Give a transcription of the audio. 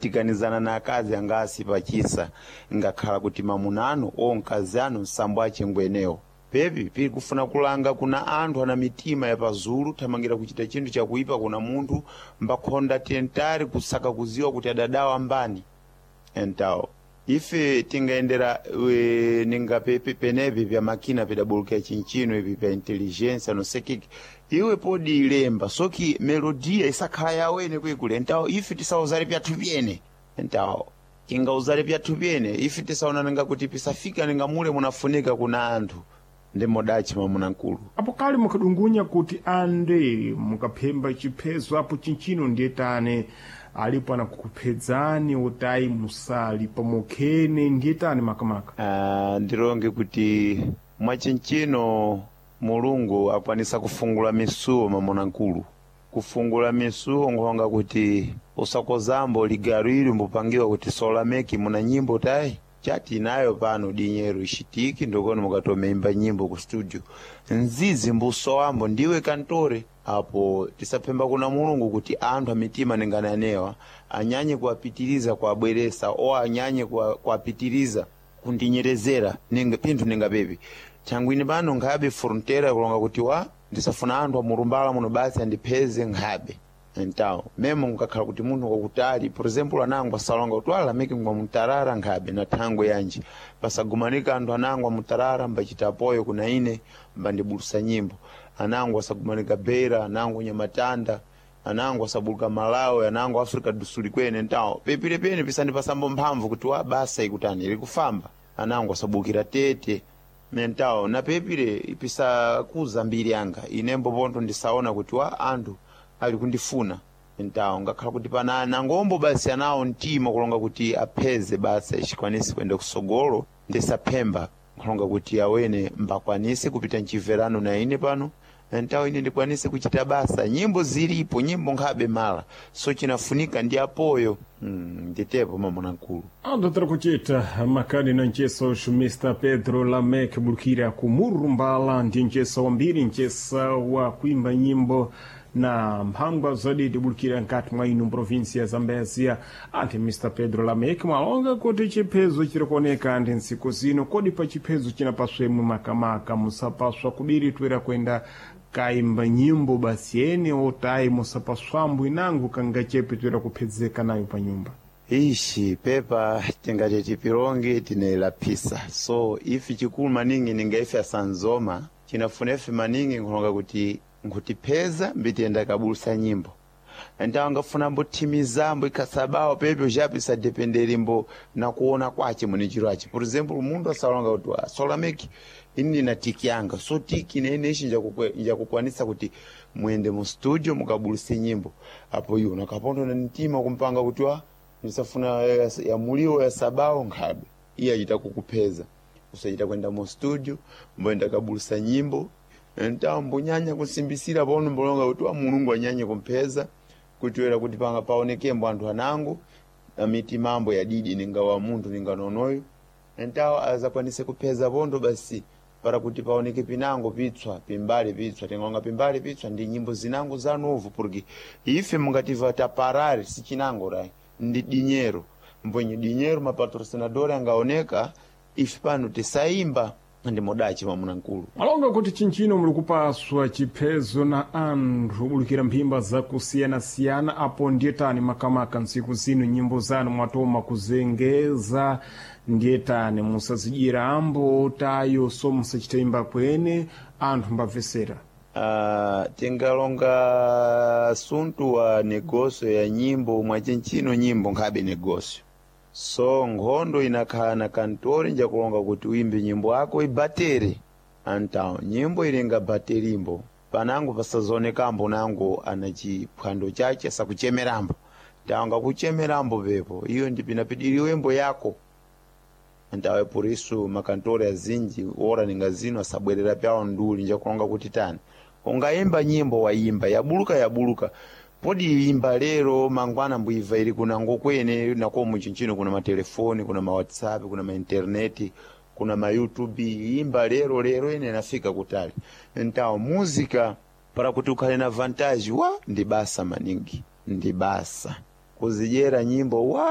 Tiganizana na akazi angasi pachisa, ngakhala kuti mamuna anu o mkazi anu nsambo achingwenewo. Pepi pili kufuna kulanga kuna anthu ana mitima ya pazulu, thamangira kuchita chinthu chakuipa kuna munthu mbakhonda tentali kusaka kuziwa kuti adadawa mbani. Entawo ife tingayendera ninga penepi pya makina pidabulukira chinchino ipi pya intelligence nosekiki iwe podi ilemba soki melodiya isakhala yawene kwikule. Entawo ife tisauzale pyathu pyene. Entawo tingauzale pyathu pyene ife tisaonananga kuti pisafika ninga mule munafunika kuna anthu ndi modachi mwamuna mkulu. Apo kale mukadungunya kuti ande mukaphemba chiphezo apo chinchino ndiye tane alipo anakukuphedzani utayi musali pamokhene ndiye tani makamaka. Ndilonge kuti mwachinchino Mulungu akwanisa kufungula misuwo mwamuna mkulu. Kufungula misuwo nkhonga kuti usakozambo ligalo ili mbupangiwa kuti solameki muna nyimbo tayi chati inayo pano dinyero ishitiki ndikono mukatomeimba nyimbo ku studio nzizi mbusowambo ndiwe kantore. Apo tisaphemba kuna Mulungu kuti anthu amitima ningananewa anyanye kuwapitiriza kuwabweresa o anyanye kuwapitiriza kundinyerezera ninga pinthu ningapepi thangwini pano nkhabe frontera kulonga kuti wa ndisafuna anthu amurumbala muno basi andipheze nkhabe. Entawo memo nkakhala kuti munthu wakutali, por exemplo anango asalonga kuti alameke ngwa mutarara nkhabe na thangwe yanji pasagumanika anthu anango amutarara mbachita apoyo kuna ine mbandibulusa nyimbo, anango asagumanika Beira, anango Nyamatanda, anango asabuluka Malawi, anango Africa do Sul kwene. Entawo pepire pene pisandipasambo mphamvu kuti wa basa ikutani ilikufamba, anango asabukira Tete. Mentawo na pepire pisakuza mbiri yanga inembo pontho ndisaona kuti wa anthu ali kundifuna. Ntawo ngakhala kuti pana nangombo basi anawo mtima kulonga kuti apheze basi achikwanisi kuyenda kusogolo, ndisaphemba kulonga kuti awene mbakwanise kupita mchimverano na ine pano. Ntawo ine ndikwanise kuchita basa, nyimbo zilipo, nyimbo nkhabe mala so chinafunika ndi apoyo. Nditepo mamuna mkulu. Andotera kuchita makani na ncheso Mr Pedro Lamek bulukira ku Murumbala ndi nchesa wambiri, nchesa wa kuimba nyimbo na mphangwa zodi tibulukira nkati mwa inu provinsia ya Zambezia. Anti Mr Pedro Lamek mwalonga kuti chiphezo chiri kuoneka ndi ntsiku zino, kodi pa chiphezo chinapaswemwe makamaka musapaswa kubiri twera kwenda kaimba nyimbo basi ene otayi musapaswambo inango kangachepe twera kuphedzeka nayo pa nyumba. Ishi pepa tingati tipilonge tinelaphisa so ifi chikulu maningi ninga ife asanzoma chinafuna ife maningi nkulonga kuti nkutipheza mbitiyenda kabulusa nyimbo. Ntawo ngafuna mbothimizambo ikhasabawo pepe uchapi sadependeri mbo nakuona kwace mune chiro achi. Por exemplo munthu asalonga kuti asolameki ini ndina tiki yanga so tiki nene ichi njakukwanisa kuti muyende mu studio mukabuluse nyimbo. Apo iwo nakapondo na mtima kumpanga kuti wa ndisafuna ya muliro ya sabawo nkhabe iye achita kukupheza usachita kwenda mu studio mboyenda kabulusa nyimbo. Ntawo mbonyanya kusimbisira pano mbolonga kuti wa Mulungu anyanye kumpheza kutiwera kuti panga paonekembo anthu anango amitimambo yadidi ninga wa munthu ninga nonoyo. Ntawo azakwanise kupheza pondo basi para kuti paoneke pinango pitswa pimbali pitswa tingalonga pimbali pitswa ndi nyimbo zinango zanovu, porque ife mungativa taparari sichinango rai ndi dinyero mbwenye dinyero mapatrocinador angaoneka ife pano tisaimba ndi modachi mwamuna mkulu. Malonga kuti chinchino muli kupaswa chiphezo na anthu bulukira mphimba zakusiyanasiyana apo ndiye tani makamaka ntsiku zino nyimbo zanu mwatoma kuzengeza ndiye tani musazidyira ambo tayo so musachita kwene anthu mbamvesera. Tingalonga suntu wa negosio ya nyimbo mwachinchino nyimbo nkhabe negosio so nkhondo inakhala na kantori njakulonga kuti uimbe nyimbo yako ibatere. Antawo nyimbo ilinga baterimbo panango pasazonekambo nango ana chiphwando chache sakuchemerambo tawanga kuchemerambo pepo iyo ndipinapidiriwe mbo yako. Ntawe por isso makantori azinji ora ninga zino asabwerera pyawo nduli njakulonga kuti tani ungayimba nyimbo wayimba yabuluka yabuluka podi imba lero mangwana mbuiva ili kuna ngokwene nako muchinchino kuna matelefoni kuna ma WhatsApp kuna ma internet kuna ma YouTube imba lero lero ine nafika kutali. Ntawo muzika para kuti ukhale na vantage wa ndi basa maningi ndi basa kuzidyera nyimbo wa.